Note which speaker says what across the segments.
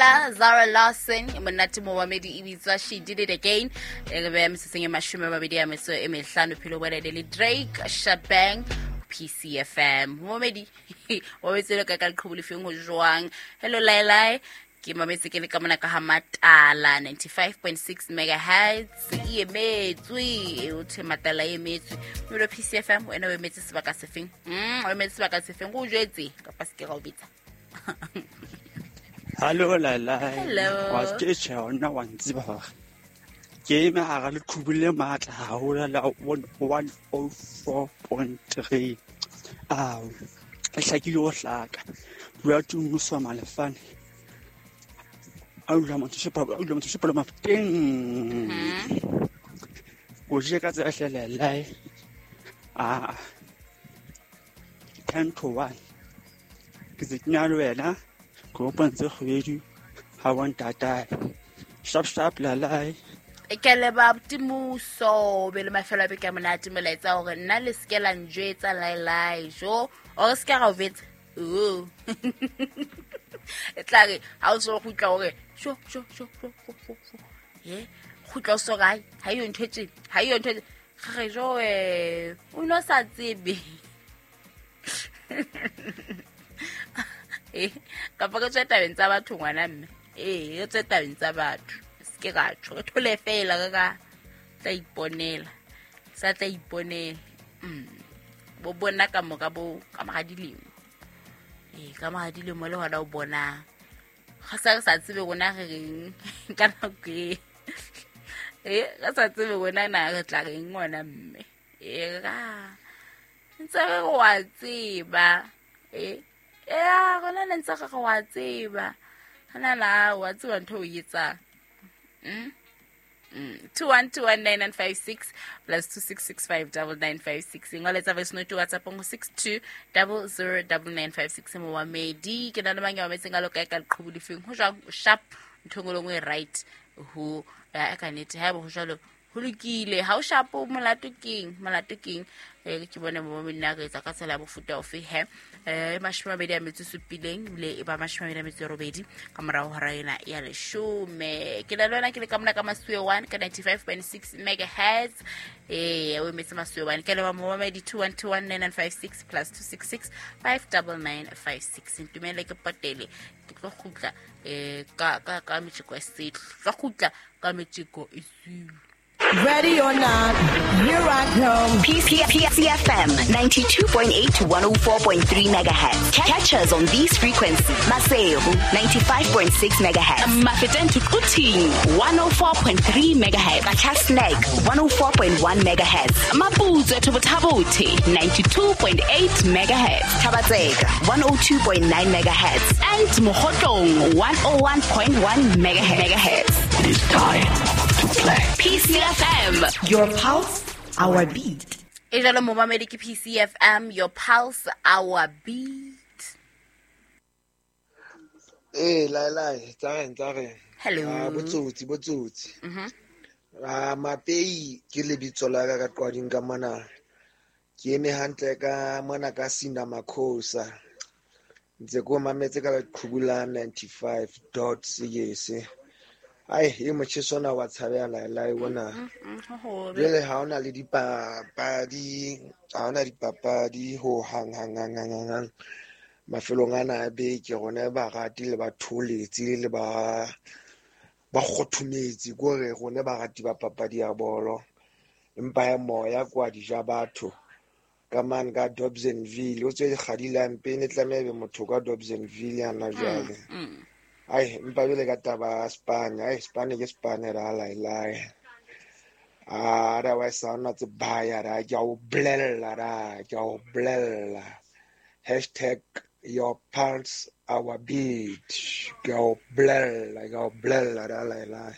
Speaker 1: La Zara Larson monate momamedi e bitswa She Did It Again e re beya metsotsong e 25 phelo bolele le Drake Shabang PCFM momamedi o metse ka ka leqhubu lefeng ho jwang. Hello Lailai, ke mametse ke le ka mona ka ha Matala 95.6 megahertz e emetswe o the Matala e emetswe mmele PCFM wena o emetse sebaka sefeng? O emetse sebaka sefeng go jwetse kapa se ke ga o bitsa.
Speaker 2: Hallo Lailai.
Speaker 1: Hello.
Speaker 2: Wa ke tjhe ona wa ntseba hore ke eme hara leqhubu le matla haholo la 104.3. Ao, e hlakile ho hlaka. Bua tumuso malefane. A utlwa motho shepa, a utlwa motho shepa le mafuteng. O je ka tsela hle Lailai. Ah. 10 to 1. Ke se kenya le wena ke opantse kgwedi ha wa ntatae. Sharp sharp Lailai.
Speaker 1: Ke leba Timuso be le mafelo a beke a monate molaetsa hore nna le seke la njwetsa Lailai jo o se ke ga o betsa. Oh. E tla re ha o so gutla hore sho sho sho sho sho sho. Ye gutla o so ga ha yo ntho tse ha yo ntho ga re jo o no sa tsebe. Kapa ke tswe tabeng tsa batho ngwana mme. Re tswe tabeng tsa batho. Se ke ra tjho, re thole fela re ka tla iponela. Sa tla iponela. Bo bona ka mora bo ka mora dilemo. Ka mora dilemo le hona o bona. Ga sa re sa tsebe rona re reng ka nako e. Re sa tsebe rona na re tla reng ngwana mme. Ra ntse re wa tseba. Rona ne ntse re wa tseba. Hana la wa tseba ntho o etsang. 21219956 plus 26659956. Ngoletsa voice note WhatsApp ngo 62009956 mo wa medi. Ke na le mang ya mametseng a loka ka leqhubu lefeng. Ho jwang o sharp ntho ngwe le ngwe right ho ya ka nnete ha bo jwalo ho lokile ha o sharp molato keng molato keng ke bone mo nna re etsa ka tsela ya bofuta ofe he 27 ebile e ba 28 ka morago hora ena ya 10. Ke na le wena ke le ka mona ka Masuwe 1 ka 95.6 megahertz. O emetse Masuwe 1 ke leba momamedi 21219956 plus 26659956. Ntumele ke potele ke tlo kgutla ka metjeko e setlo tlo kgutla ka metjeko e setlo.
Speaker 3: Ready or not, here I come.
Speaker 4: PCFM 92.8 to 104.3 megahertz. Catch us on these frequencies. Maseru 95.6 megahertz.
Speaker 5: Mafeteng to Quthing 104.3 megahertz.
Speaker 4: Qacha's Nek 104.1 megahertz.
Speaker 5: Maputsoe to Botha-Bothe 92.8 megahertz.
Speaker 4: Thaba-Tseka 102.9 megahertz.
Speaker 5: And Mokhotlong 101.1 megahertz.
Speaker 6: It is time to play.
Speaker 5: PCFM,
Speaker 3: your pulse, our beat.
Speaker 1: E jalo momamedi ke PCFM, your pulse, our beat.
Speaker 7: Lailai, tsareng.
Speaker 1: Hello.
Speaker 7: Botsotsi. Mapei ke lebitso la ka ka qwading ka mona. Ke eme hantle ka mona ka Sina Makhosa. Ntse ko mametse ka leqhubu la 95.6. Ai, e motjheso ona wa tshabeha Lailai ona. Jwale ha ona le dipapadi, ha ona dipapadi ho hang hang hang hang hang. Mafelong ana a beke rona barati le batholetsi le ba kgothometse kore rona barati ba papadi ya bolo. Empa ya moya kwa dija batho ka mane ka Dobsonville o tswe kgadi la mpene tlameha be motho ka Dobsonville yana jwale. Ai, empa jwale ka taba ya Spain, ai Spain ke Spain ra Lailai. Otherwise ha ona tse baya ra ke a o bolella ra ke a o bolella. Hashtag your pulse our beat. Ke a o bolella ra Lailai.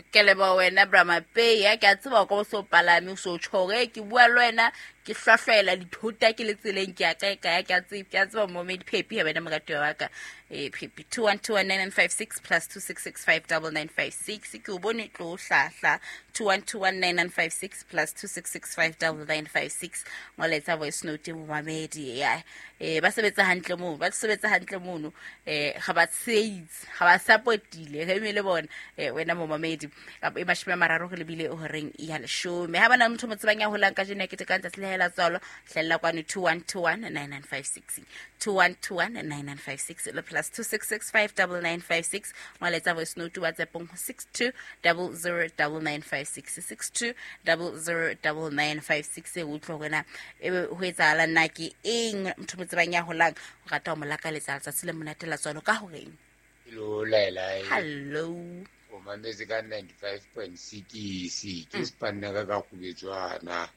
Speaker 1: Ke leboha wena Bra Mapei, ya ke a tseba ko so palame o so tjho hore ke bua le wena Ke hlwahlwela dithota ke le tseleng ke ya kae kae ke a tseba momedi Phepi ha bana moratuwa wa ka. Phepi 21219956 plus 26659956 ke o bone tlo hlahla 21219956 plus 26659956 ngoletsa voice note momamedi ya ba sebetsa hantle moo ba sebetsa hantle mono ga ba tshehetse ga ba supportile re eme le bona wena momamedi e 30 re lebile horeng ya 10 ha bana motho mo tsebang ya holang ka jeno ya ketekang tsatsi le hela tswalo hlella kwano 21219956 21219956 le plus 26659956 ngoletsa voice note WhatsApp-ong 62009956 62009956 e utlwe hore na ebe ho etsahala nna ke eng motho mo tsebang ya holang o rata ho mo lakaletsa letsatsi le monate la tswalo ka horeng.
Speaker 8: Hello Laila.
Speaker 1: Hello.
Speaker 8: O mametse ka 95.6 ke spanna ka kgubetswana.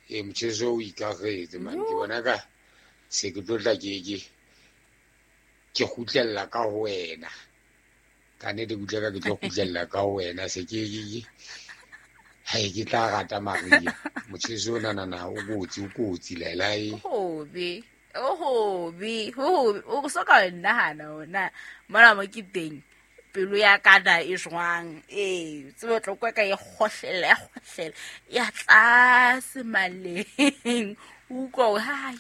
Speaker 8: E motjheso o ikagetse man ke bona ka se ke tlo tla ke kgutlella ka ho wena. Ka nnete ke utlwa ka ke tlo kgutlella ka ho wena se ke hai ke tla rata Maria. Motjheso ona nana o kotsi Laila.
Speaker 1: Hobe o so ka nahana ona mona mo ke teng pelo ya kana e jwang tsebe tlo kwa ka e kgohlela ya tlase maleng utlwa ha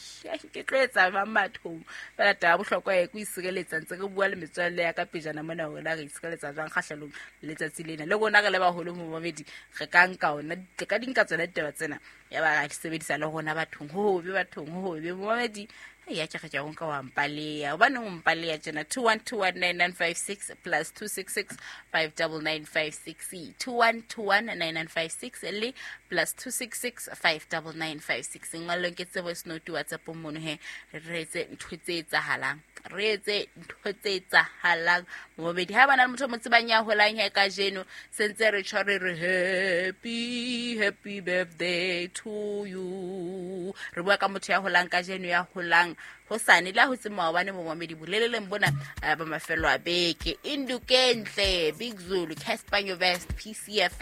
Speaker 1: ke tlo etsa mang bathong fela taba bohlokwa e ko isireletsa ntse re bua le metswalle ya ka pejana mona hore na re isireletsa jwang kgahlanong letsatsi lena le rona re le baholo momamedi re ka nka ona re ka di nka tsona ditaba tsena ya ba ra di sebedisa le rona bathong ho hobe bathong ho hobe momamedi ya ke re ke o nka wa mpaleya hobane o mpaleya tjena 21219956 plus 26659956 21219956 le plus 26659956 ngwalong ke tse voice note WhatsApp mono he re etse ntho tse etsahalang momedi ha bana le motho mo tsebang ya holang he ka jeno sentse re tshware re happy birthday to you re bua ka motho ya holang ka jeno ya holang hosane la ho tse maobane momamedi boleleleng bona ba mafelo a beke Indukentle Big Zulu Casper Nyovest PCF.